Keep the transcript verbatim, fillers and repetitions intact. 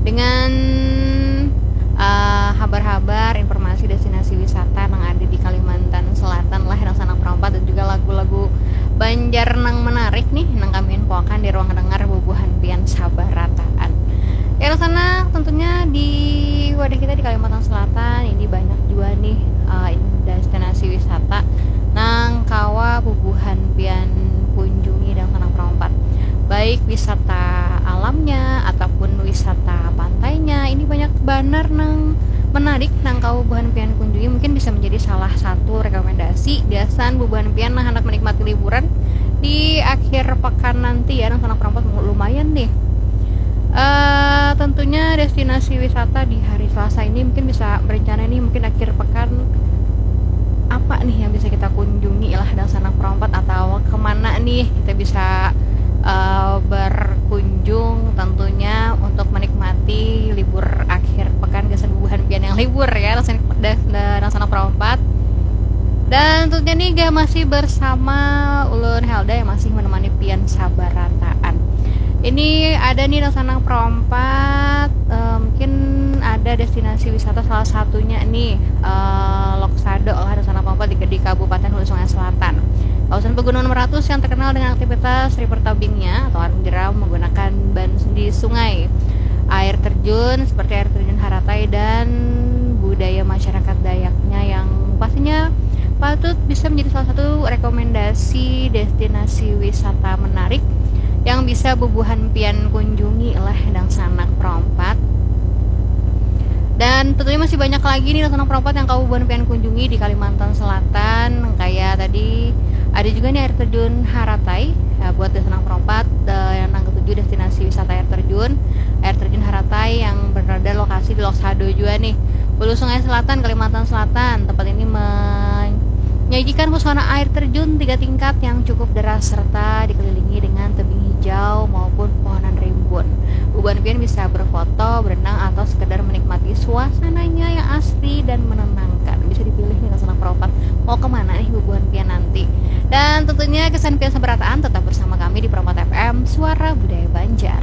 dengan uh, habar-habar, informasi destinasi wisata yang ada di Kalimantan Selatan lah, yang sanang perampat, dan juga lagu-lagu Banjar nang menarik nih, nang kami infokan di ruang dengar bubuhan pian sabarataan. Ya, sana tentunya di wadah kita di Kalimantan Selatan ini banyak juga nih uh, destinasi wisata nang kawa bubuhan pian kunjungi dan sanang perampat, baik wisata alamnya ataupun wisata pantainya. Ini banyak banar nang menarik nang kawa bubuhan pian kunjungi, mungkin bisa menjadi salah satu rekomendasi gasan bubuhan pian nang hendak menikmati liburan di akhir pekan nanti ya, nang sanang perampat lumayan nih. Uh, tentunya destinasi wisata di hari Selasa ini mungkin bisa berencana nih, mungkin akhir pekan apa nih yang bisa kita kunjungi lah dan sanang perampat, atau kemana nih kita bisa uh, berkunjung tentunya untuk menikmati libur akhir pekan gasan bubuhan pian yang libur ya, dan sanang perampat. Dan tentunya nih gak masih bersama ulun Helda yang masih menemani pian sabarataan. Ini ada nih nang sanang perampat, uh, mungkin ada destinasi wisata salah satunya nih uh, Loksado lah, nang sanang perampat di, di Kabupaten Hulu Sungai Selatan, kawasan Pegunungan Meratus yang terkenal dengan aktivitas river tubingnya atau arung jeram menggunakan ban di sungai, air terjun seperti air terjun Haratai, dan budaya masyarakat Dayaknya yang pastinya patut bisa menjadi salah satu rekomendasi destinasi wisata menarik yang bisa bubuhan pian kunjungi lah dan sanang perampat. Dan tentunya masih banyak lagi nih nang sanang perampat yang kawa bubuhan pian kunjungi di Kalimantan Selatan, kayak tadi ada juga nih air terjun Haratai. Nah, buat nang sanang perampat, uh, yang nang ketujuh destinasi wisata air terjun, air terjun Haratai yang berada lokasi di Loksado juga nih, Hulu Sungai Selatan, Kalimantan Selatan. Tempat ini menyajikan pesona air terjun tiga tingkat yang cukup deras serta dikelilingi dengan tebing hijau maupun pohonan rimbun. Bubuhan pian bisa berfoto, berenang, atau sekedar menikmati suasananya yang asri dan menenangkan. Bisa dipilih nih nang sanang perampat mau kemana nih bubuhan pian nanti. Dan tentunya gasan pian sabarataan tetap bersama kami di Perampat F M, Suara Budaya Banjar.